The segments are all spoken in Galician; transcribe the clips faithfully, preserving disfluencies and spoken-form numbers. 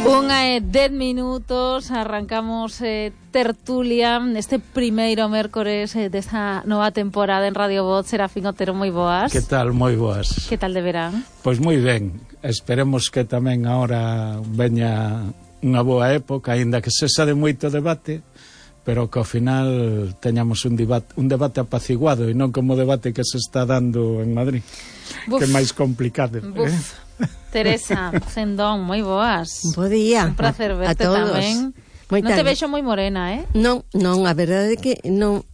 Unha e dez minutos, arrancamos eh, tertulia este primeiro mércores eh, desta nova temporada en Radio Voz. Serafín Otero, moi boas. Que tal? Moi boas. Que tal de verán? Pois moi ben, esperemos que tamén agora veña unha boa época, aínda que sexa de moito debate, pero que ao final teñamos un debate, un debate apaciguado e non como o debate que se está dando en Madrid. Buf, que é máis complicado. Buf. Eh? Teresa Cendón, moi boas. Bo día. Un placer verte tamén. Non te vexo moi morena, eh? Non, non, a verdade é que non,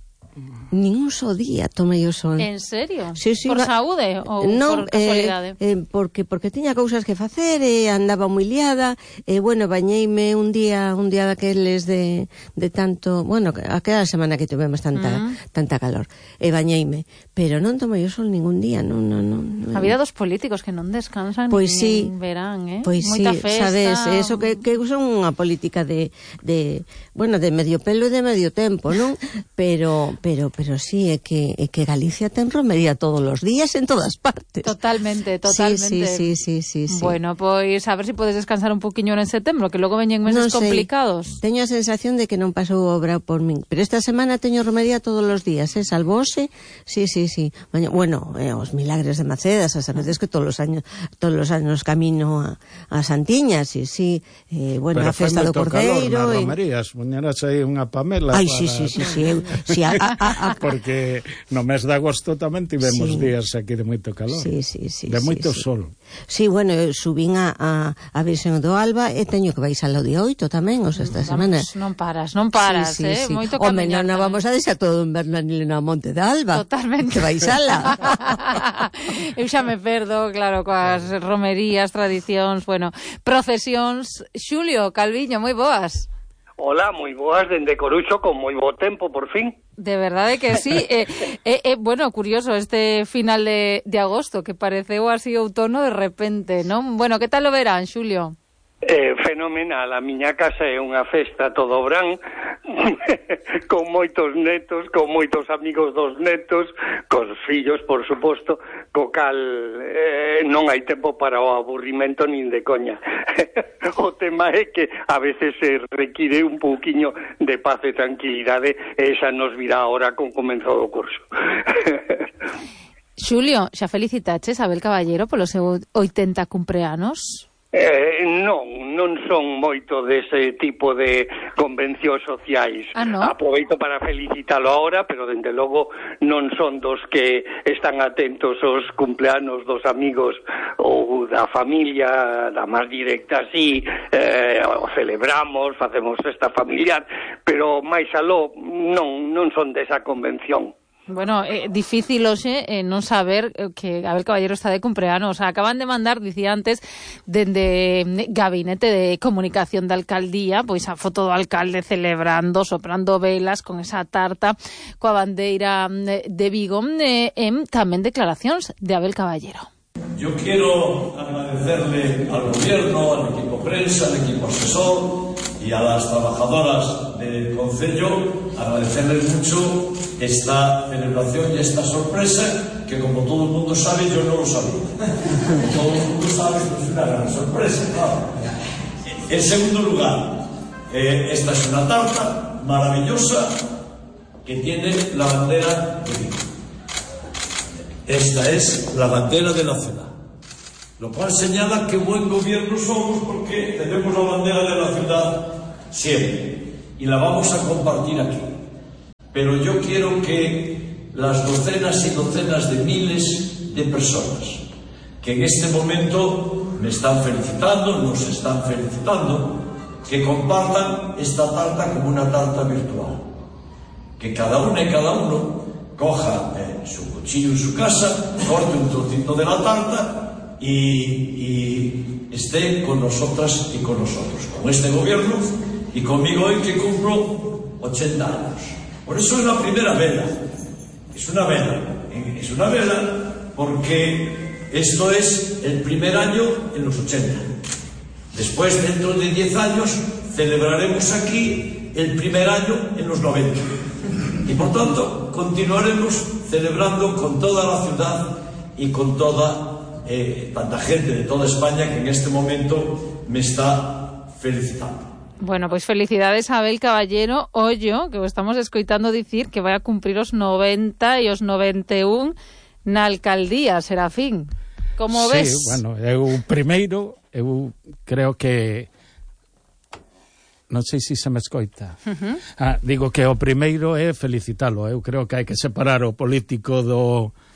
nin un só día tomei o sol. En serio? Sí, sí, por va... saúde ou non, por casualidade? Eh, eh, porque porque tiña cousas que facer e andaba moi liada e, bueno, bañeime un día un día daqueles de, de tanto, bueno, aquela semana que tivemos tanta mm. tanta calor, e bañeime, pero non tomei o sol ningún día, non, non, non. A vida dos políticos que non descansan pois nin sí, verán, eh? Pois moita sí, festa. Sabes, eso que, que son unha política de, de, bueno, de medio pelo e de medio tempo, non? Pero, pero, pero sí, é que, é que Galicia ten romería todos os días en todas partes. Totalmente, totalmente. Sí, sí, sí, sí, sí. Bueno, pois a ver se si podes descansar un poquinho en setembro, que logo veñen meses no complicados. Teño a sensación de que non pasou obra por min, pero esta semana teño romería todos os días, eh? Salvose, sí, sí, sí. Bueno, eh, os milagres de Macedas, a sabedes que todos os años todos os años camino a, a Santiña, sí, sí. Eh, bueno, pero a festa do Cordeiro. Pero romerías, poñeras aí unha Pamela. Ai, para... sí, sí, sí, sí, eu, sí a, a, a, a... Porque no mes de agosto tamén tivemos sí. días aquí de moito calor. Sí, sí, sí. De moito sí, sol. Sí, bueno, eu subín a, a, a Virxen do Alba e teño que baixar ao día oito tamén, o sea, esta vamos, semana. Non paras, non paras, sí, sí, eh? Sí. Moito Home, camiñar. non vamos a deixar todo en Bernanilo na Monte de Alba. Totalmente. Que baixala. Eu xa me perdo, claro, coas romerías, tradicións, bueno, procesións. Xulio Calviño, moi boas. Hola, moi boas, dende Coruxo, con moi bo tempo, por fin. De verdade que sí. eh, eh, eh, bueno, curioso este final de, de agosto, que pareceu así outono de repente, non? Bueno, que tal o verán, Xulio? Eh, fenomenal, a miña casa é unha festa todo o verán, con moitos netos, con moitos amigos dos netos, cos fillos, por suposto, co cal eh, non hai tempo para o aburrimento nin de coña. O tema é que a veces se require un pouquiño de paz e tranquilidade, e esa nos virá ahora con comenzo do curso. Xulio, xa felicitaches a Abel Caballero polo seu oitenta cumpleanos? Eh, non, non son moito dese tipo de convencións sociais. Ah, no? Aproveito para felicitalo ahora, pero dende logo non son dos que están atentos aos cumpleanos dos amigos ou da familia, da máis directa, así, eh, celebramos, facemos festa familiar, pero máis aló non, non son desa convención. Bueno, é eh, difícil hoxe eh, non saber que Abel Caballero está de cumpleanos. O sea, acaban de mandar, dicía antes, dende Gabinete de Comunicación da Alcaldía, pois a foto do alcalde celebrando, soprando velas con esa tarta coa bandeira de Vigo, e eh, tamén declaracións de Abel Caballero. Yo quiero agradecerle al gobierno, al equipo prensa, al equipo asesor y a las trabajadoras del Concello, agradecerles mucho esta celebración y esta sorpresa que, como todo el mundo sabe, yo no lo sabía. Todo el mundo sabe que es una gran sorpresa, claro. En segundo lugar, eh, esta es una tarta maravillosa que tiene la bandera de Vigo. Esta es la bandera de la ciudad, lo cual señala que buen gobierno somos porque tenemos la bandera de la ciudad siempre y la vamos a compartir aquí. Pero yo quiero que las docenas y docenas de miles de personas que en este momento me están felicitando, nos están felicitando, que compartan esta tarta como una tarta virtual, que cada una y cada uno coja eh, su cuchillo en su casa, corte un trocito de la tarta y, y esté con nosotras y con nosotros, con este gobierno y conmigo hoy que cumplo ochenta años. Por eso es la primera vela, es una vela, es una vela porque esto es el primer año en los ochenta. Después, dentro de diez años, celebraremos aquí el primer año en los noventa. Y por tanto, continuaremos celebrando con toda la ciudad y con toda eh, tanta gente de toda España que en este momento me está felicitalo. Bueno, pois felicidades a Abel Caballero Ollo, que o estamos escoitando dicir que vai a cumprir os noventa e os noventa e un na alcaldía, Serafín. Como sí, ves? Sí, bueno, eu primeiro, eu creo que non sei se se me escoita. Uh-huh. Ah, digo que o primeiro é felicitalo. Eu creo que hai que separar o político do